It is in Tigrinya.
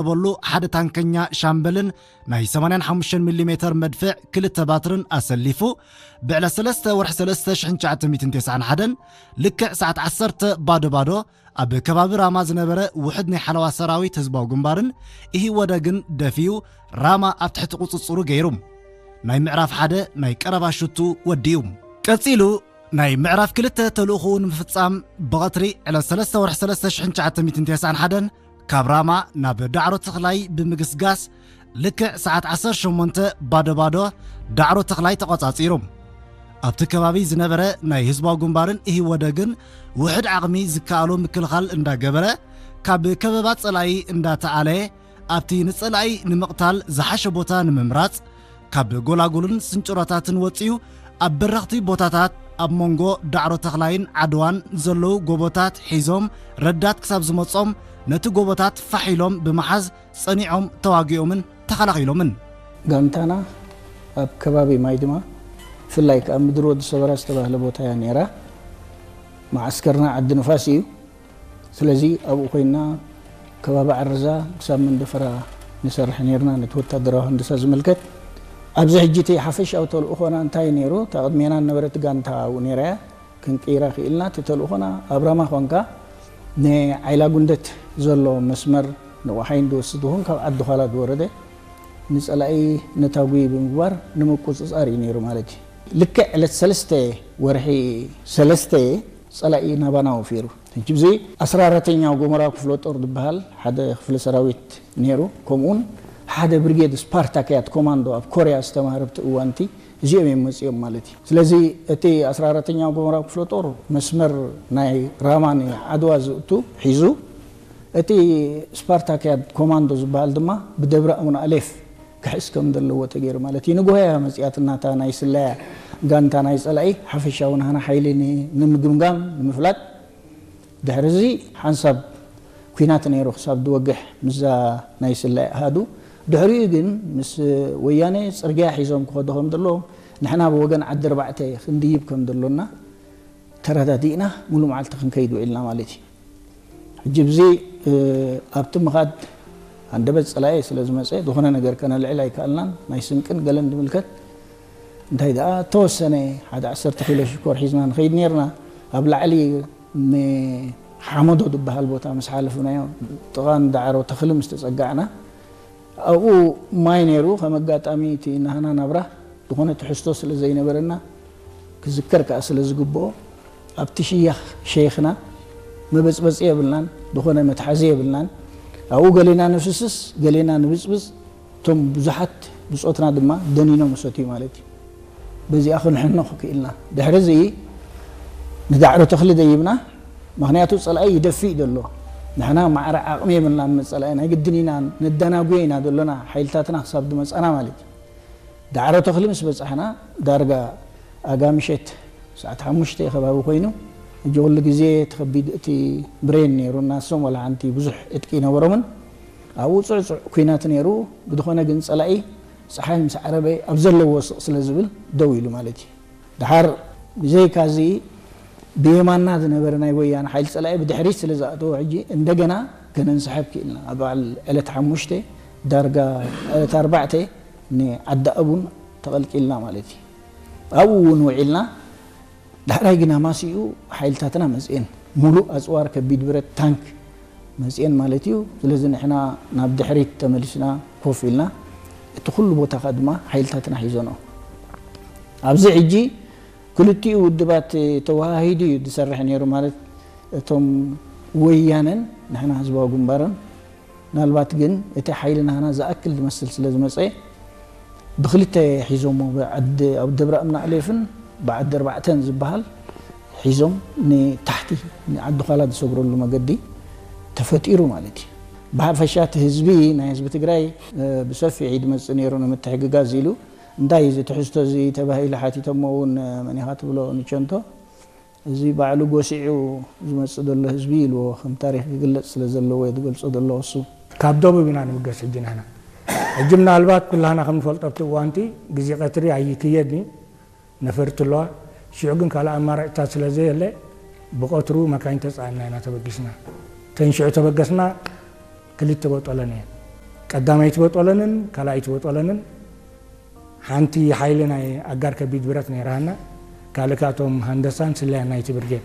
ዝተወደበሉ ሓደ ታንከኛ ሻምበልን ናይ ሰማንያን ሓሙሽተ ሚሊ ሜተር መድፍዕ ክልተ ባትርን ኣሰሊፉ፣ ብዕለት ሰለስተ ወርሒ ሰለስተ ሽሕን ትሽዓተ ሚእትን ተስዓን ሓደን ልክዕ ሰዓት ዓሰርተ ባዶ ባዶ ኣብ ከባቢ ራማ ዝነበረ ውሕድ ናይ ሓለዋ ሰራዊት ህዝባዊ ግንባርን ኢህወደግን ደፊኡ ራማ ኣብ ትሕቲ ቁጽጽሩ ገይሩ። ናይ ምዕራፍ ሓደ ናይ ቀረባ ሽቱ ወዲኡ። ቀጺሉ ናይ ምዕራፍ ክልተ ተልእኾኡ ንምፍጻም ብቐትሪ ዕለት ሰለስተ ወርሒ ሰለስተ ሽሕን ትሽዓተ ሚእትን ተስዓን ሓደን ካብ ራማ ናብ ዳዕሮ ተኽላይ ብምግስጋስ ልክዕ ሰዓት ዓሰርተ ሸሞንተ ባዶ ባዶ ዳዕሮ ተኽላይ ተቖጻጺሩ። ኣብቲ ከባቢ ዝነበረ ናይ ህዝባዊ ግንባርን ኢህወደግን ውሕድ ዓቕሚ ዝከኣሎ ምክልኻል እንዳገበረ ካብ ከበባ ጸላኢ እንዳተኣለየ ኣብቲ ንጸላኢ ንምቕታል ዝሓሸ ቦታ ንምምራጽ ካብ ጎላጉልን ስንጭሮታትን ወጺኡ ኣብ በረኽቲ ቦታታት ኣብ መንጎ ዳዕሮ ተኽላይን ዓድዋን ዘለዉ ጎቦታት ሒዞም ረዳት ክሳብ ዝመጾም ነቲ ጎቦታት ፋሕ ኢሎም ብምሓዝ ጸኒዖም ተዋጊኦምን ተኸላኺሎምን። ጋንታና ኣብ ከባቢ ማይ ድማ ብፍላይ ከኣ ምድሪ ወዲ ሰበራ ዝተባህለ ቦታ እያ ነይራ። መዓስከርና ዓዲ ንፋስ እዩ። ስለዚ ኣብኡ ኮይና ከባቢ ዓረዛ ክሳብ መንደፈራ ንሰርሕ ነይርና ነቲ ወታደራዊ ህንድሳ ዝምልከት። ኣብዚ ሕጂ እቲ ሓፈሻዊ ተልእኾና እንታይ ነይሩ? እታ ቅድሜና ነበረት ጋንታ ኣብኡ ነይራ እያ። ክንቅይራ ክኢልና። እቲ ተልእኾና ኣብ ራማ ኾንካ ንዓይላ ጉንደት ዘሎ መስመር ንቆሓይ እንድወስድ ይኹን ካብ ዓዲ ዃላ ዝወረደ ንጸላኢ ነታጒ ብምግባር ንምቁጽጻር እዩ ነይሩ ማለት እዩ። ልክዕ ዕለት ሰለስተ ወርሒ ሰለስተ ጸላኢ ናባና ወፊሩ። ሕጂ እዚ ኣስራ ኣራተኛው ጎመራ ክፍለ ጦር ዝበሃል ሓደ ክፍለ ሰራዊት ነይሩ። ከምኡውን ሓደ ብርጌድ ስፓርታክያት ኮማንዶ ኣብ ኮርያ ዝተማህረ ኣብቲ እዋንቲ እዚኦም እዮም መጺኦም ማለት እዩ። ስለዚ እቲ ኣስራ ኣራተኛው ጎመራ ክፍለ ጦር መስመር ናይ ራማ ንዓድዋ ዝእቱ ሒዙ፣ እቲ ስፓርታክያት ኮማንዶ ዝበሃል ድማ ብደብረ ኣቡነ ኣሌፍ ክሕስ ከም ዘለዎ ተገይሩ ማለት እዩ። ንጉሆ እያ መጺኣትና እታ ናይ ስለያ ጋንታ ናይ ጸላኢ ሓፈሻዊ ናህና ሓይሊ ን-፣ ንምግምጋም ንምፍላጥ። ድሕሪ እዚ ሓንሳብ ኲናት ነይሩ ክሳብ ዝወግሕ ምስዛ ናይ ስለያ ኣሃዱ። ድሕሪኡ ግን ምስ ወያነ ጽርግያ ሒዞም ክኸዱ ከም ዘለዎም ንሕና ብወገን ዓዲ ኣርባዕተ ክንድይብ ከም ዘሎና ተረዳዲእና ሙሉ መዓልቲ ክንከይድ ውዒልና ማለት እዩ። ሕጂ ብዚ፣ እ፣ ኣብቲ ምኻድ ኣንደበት ጸላኢ ስለ ዝመጸ ዝኾነ ነገር ከነልዕል ኣይከኣልናን። ናይ ስንቅን ገለን ዝምልከት እንታይ ደኣ ተወሰነ ሓደ ዓሰርተ ኪሎ ሽኮር ሒዝና ንኸይድ ነርና። ኣብ ላዕሊ ንሓመዶ ዝበሃል ቦታ ምስ ሓለፍናዮ ጥቓ ንዳዕሮ ተኽሊ ምስ ተጸጋዕና ኣብኡ ማይ ነይሩ። ከም ኣጋጣሚ እቲ ናህና ናብራ ዝኾነ ትሕዝቶ ስለ ዘይነበረና ክዝከር ከኣ ስለ ዝግብኦ ኣብቲ ሽያኽ ሸይኽና መበጽበጺ የብልናን፣ ዝኾነ መትሓዚ የብልናን። ኣብኡ ገሌና ንፍስስ፣ ገሌና ንብጽብጽ፣ እቶም ብዙሓት ብጾትና ድማ ደኒኖም ሰትዩ ማለት እዩ። በዚኣ ክንሕነኽ ክኢልና። ድሕሪ እዚ ንዳዕሮ ተኽሊ ደይብና፣ ምኽንያቱ ጸላኢ ይደፍእ ዘሎ። ንሕና ማዕረ ዓቕሚ የብልናን፣ ንጸላኢ ናይ ግድን ኢና ነደናጉዮ ኢና ዘሎና፣ ሓይልታትና ክሳብ ዝመጻና ማለት እዩ። ዳዕሮ ተኽሊ ምስ በጻሕና፣ ዳርጋ ኣጋ ምሸት ሰዓት ሓሙሽተ ከባቢ ኮይኑ፣ ሕጂ ኩሉ ግዜ እቲ ከቢድ፣ እቲ ብሬን ነይሩ፣ ናሶም ዋላ ሓንቲ ብዙሕ ዕጥቂ ኣይነበሮምን። ኣብኡ ጽዕጹዕ ኲናት ነይሩ። ብዝኾነ ግን ጸላኢ ጸሓይ ምስ ዓረበ ኣብ ዘለዎ ስቕ ስለ ዝብል ደው ኢሉ ማለት እዩ። ደሓር ብዘይካዚ ብየማንና ዝነበረ ናይ ወያነ ሓይሊ ጸላኢ ብድሕሪት ስለ ዝኣተወ ሕጂ እንደገና ከነንስሕብ ክኢልና። ኣብ በዓል ዕለት ሓሙሽተ ዳርጋ ዕለት ኣርባዕተ ንዓዲ ኣቡን ተቐልቂልና ማለት እዩ። ኣብኡ እውን ውዒልና። ዳሕራይ ግን ኣማሲኡ ሓይልታትና መጽኤን፣ ሙሉእ ኣጽዋር ከቢድ ብረት ታንክ መጽኤን ማለት እዩ። ስለዚ ንሕና ናብ ድሕሪት ተመሊስና ኮፍ ኢልና፣ እቲ ኩሉ ቦታ ከኣ ድማ ሓይልታትና ሒዞንኦ። ኣብዚ ሕጂ ክልቲኡ ውድባት ተወሃሂዱ እዩ ዝሰርሕ ነይሩ። ማለት እቶም ወያነን ንሕና ህዝባዊ ግንባርን። ምናልባት ግን እቲ ሓይሊ ናህና ዝኣክል ዝመስል ስለ ዝመጸ ብክልተ ሒዞሞ፣ ብዓዲ ኣብ ደብረ እምናእሌፍን ብዓዲ ኣርባዕተን ዝበሃል ሒዞም ንታሕቲ ንዓዲ ዃላ ዝሰግረሉ መገዲ ተፈጢሩ ማለት እዩ። ብሓፈሻ እቲ ህዝቢ፣ ናይ ህዝቢ ትግራይ፣ እ፣ ብሰፊሕ እዩ ዝመጽእ ነይሩ ንምትሕግጋዝ ኢሉ። እንታይ እዩ እዚ ትሕዝቶ እዚ ተባሂሉ ሓቲቶሞ እውን፣ እ፣ መን ኢኻ ትብሎ ንቸንቶ? እዚ ባዕሉ ጎሲዑ ዝመጽእ ዘሎ ህዝቢ ኢልዎ፣ ከም ታሪኽ ክግለጽ ስለ ዘለዎ እየ ዝገልጾ ዘለኹ እሱ። ካብ ደቡብ ኢና ንምገስ ሕጂ ንሕና። ሕጂ ምናልባት ኩላህና ከም ንፈልጦ ኣብቲ እዋንቲ ግዜ ቀትሪ ኣይክየድን እዩ፣ ነፈርቲ ኣለዋ። ሽዑ ግን ካልእ ኣማራጭታት ስለ ዘየለ ብቐትሩ መካይን ተጻዒንና ኢና ተበጊስና። ተን ሽዑ ተበገስና ክልተ ቦጦለን እየን። ቀዳማይቲ በጦለንን ካልኣይቲ በጦለንን ሓንቲ ሓይሊ ናይ ኣጋር ከቢድ ብረት ነይራና። ካልእ ከኣ እቶም ሃንደሳን ስለያን ናይቲ ብርጌድ።